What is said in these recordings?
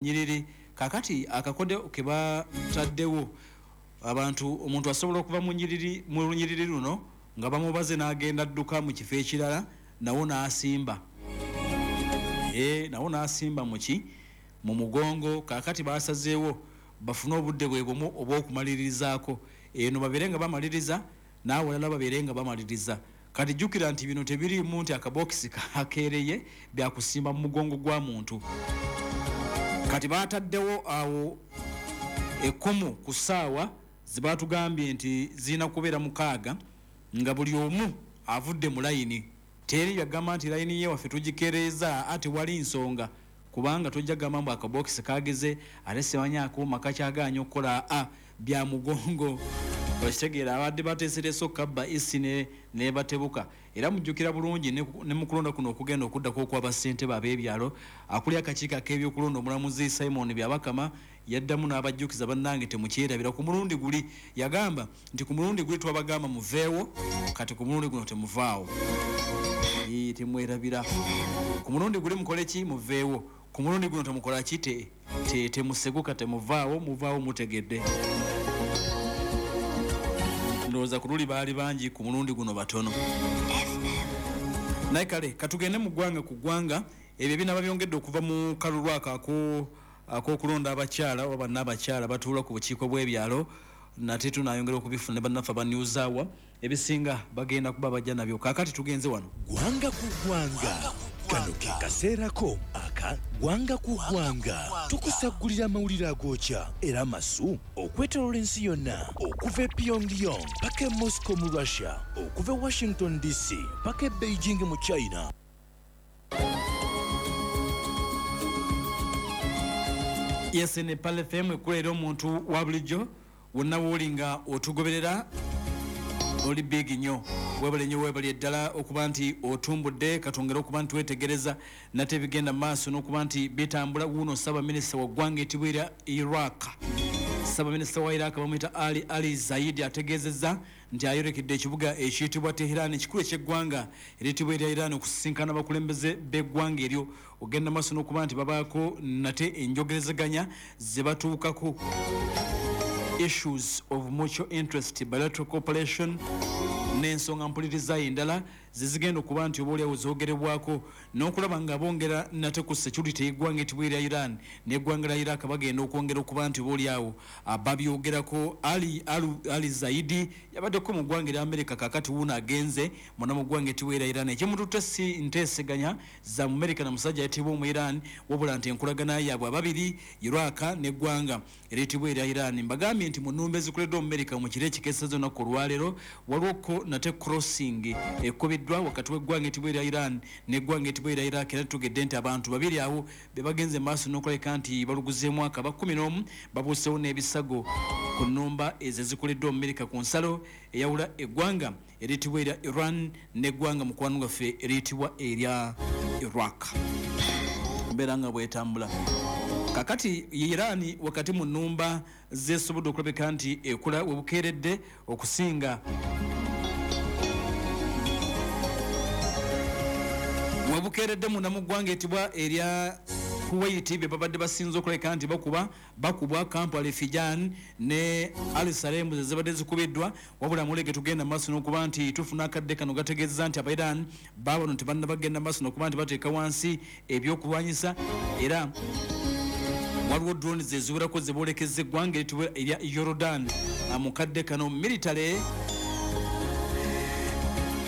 Nyiriri. Kakati akakodyo ke bataddewo abantu, omuntu asobola okuva mu nyiriri, mu lunyiriri luno nga bamubaze, n'agenda adduka mu kifo ekirala, nawo n'asimba, nawo n'asimba muki mu mugongo. Kakati basazeewo bafune obudde bwe bumu obw'okumalirizaako eno, babeere nga bamaliriza, n'awalala babeere nga bamaliriza. Kati jjukira nti bino tebiriimu nti akabokisi kakeereye, byakusimba mu mugongo gwa muntu. Kati bataddewo awo ekkomo ku ssaawa zebatugambye nti zirina kubeera 6, nga buli omu avudde mu layini. Teri yagamba nti layini ye waffe tugikereeza, ate wali nsonga, kubanga tojja gamba mbu akabokisi kageze ate simanyi akuuma kakyagaanya okukola a bya mugongo. Okitegeera, abadde bateesereese okukabba isi nebatebuka. Era mujjukira bulungi ne mu kulonda kuno okugenda okuddako okw'abassentebe ab'ebyalo, akuli akakiiko ak'ebyokulonda omulamuzi Simon Byabakama yaddamu n'abajjukiza, bannange temukyerabira, ku mulundi guli yagamba nti ku mulundi guli twabagamba muveewo, kati ku mulundi guno temuvaawo. Temwerabira, ku mulundi guli mukole ki? Muveewo. Ku mulundi guno temukola ki? Temuseguka, temuvaawo, muvaawo mutegedde. Ndowooza ku luli baali bangi, ku mulundi guno batono. Naye kale katugende mu ggwanga ku ggwanga. Ebyo binaba byongedde okuva mu kalulu ako ak'okulonda abakyala oba bannaabakyala batuula ku bukiiko bw'ebyalo. Nate tunayongera okubifuna ne bannaffe aba News Hour, ebisinga bagenda kuba bajja nabyo. Kaakati tugenze wano. Ggwanga ku ggwanga, kano ke kaseerako aka ggwanga ku ggwanga. Tukusaggulira amawulire agookya era amasu okwetooloola ensi yonna, okuva e Pyongyang paka e Moscow mu Russia, okuva e Washington DC paka e Beijing mu China. Yes, ne Pearl FM ekula era omuntu wa bulijjo wonna wooli nga otugoberera oli big nnyo. Webale nnyo, webale ddala okuba nti otumbudde. Katwongere okuba nti twetegereza nate ebigenda mu maaso n'okuba nti bitambula. Wuuno ssaabaminisita wa ggwanga etibwa erya Iraq. Ssaabaminisita wa Iraq bamuyita Ali Zaidi, ategeezezza nti ayolekedde ekibuga ekiyitibwa Tehran, ekikulu eky'eggwanga eriyitibwa erya Iran, okusisinkana abakulembeze b'eggwanga eryo, ogenda maaso n'okuba nti babaako nate enjogerezeganya ze batuukako, issues of mutual interest, bilateral cooperation n'ensonga mpulirizayo endala zezigenda okuba nti oba oliawo zoogerebwako, n'okulaba nga bongera nate ku security y'eggwanga etibwa erya Iran n'eggwanga lya Iraq. Bagenda okwongera okuba nti oba oliawo babyogerako. Ali Zaidi yabaddeko mu ggwanga erya America, kakati wuuno agenze muna mu ggwanga etibwa erya Iran. Ekimututte si nteeseganya za mu America na musajja ayitibwa omu Iran, wabula nti enkolagana yaabwe ababiri, Iraq n'eggwanga eriyitibwa erya Iran. Mbagambye nti mu nnumba ezikoleddwa mu America mu kiro ekikeesezza olunaku olwaleero, waliwo nate crossing ekubiddwa wakati w'eggwanga etibwa erya Iran n'eggwanga etibwa erya Iraq, era tugedde nti abantu babiri awo be bagenze maaso n'okulabika nti baluguzeemu akaba, 11 babuusewo n'ebisago ku nnumba ezo ezikoleddwa mu America ku nsalo eyawula eggwanga eriyitibwa erya Iran n'eggwanga mukwano gwaffe eriyitibwa erya Iraq. Mbeera nga bwetambula kakati, Iran wakati mu nnumba zesobodde okulabika nti ekula webukeeredde okusinga webukeeredde munda mu ggwanga etibwa erya Kuwait, bye babadde basinze okulabika nti bakuba, bakubwa kampu Alifijan ne Al Salem ze zibadde zikubiddwa. Wabula amawulire tugenda maaso n'okuba nti tufuna akadde kano gategeeza nti Abairan baabano tebannabagenda maaso n'okuba nti bateeka wansi ebyokulwanyisa, era waliwo drones eziwerako ze boolekeza eggwanga eritibwa erya Jordan. Mu kadde kano military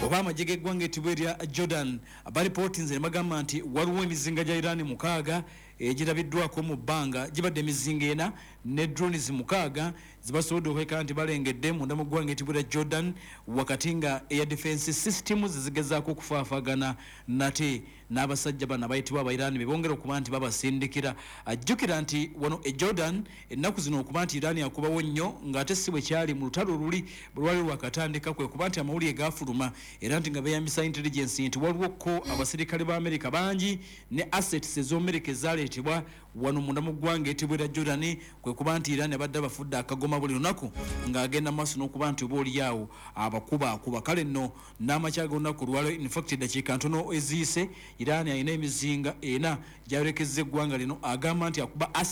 oba amagye g'eggwanga etibwa erya Jordan baripootinze ne bagamba nti waliwo emizinga gya Iran 6 egirabiddwako mu bbanga, gibadde emizinga 4 ne drones 6 zibasobodde okwekana nti balengedde munda mu ggwanga etibwa erya Jordan, wakati nga air defense systems zigezaako okufaafaagana nate n'abasajja bano abayitibwa Abairani be bongera okuba nti babasindikira. Ajjukira nti wano e Jordan ennaku zino okuba nti Iran akubawo nnyo, ng'ate si bwe kyali mu lutalo luli bwe lwali lwakatandika, kwe kuba nti amawulire gaafuluma era nti nga beeyambisa intelligence nti waliwo ko abasirikale ba America bangi ne assets ez'Amerika ezaleetebwa. Wano munda mu ggwanga etibwa erya Jordan, kwe kuba nti Iran abadde abafudde akagoma buli lunaku ng'agenda maaso n'okuba nti oba oliawo abakubaakuba. Kale nno n'amakya g'olunaku olwaleero, infact eddakiika ntono eziyise, Iran alina emizinga ena gyayolekezza eggwanga lino, agamba nti akuba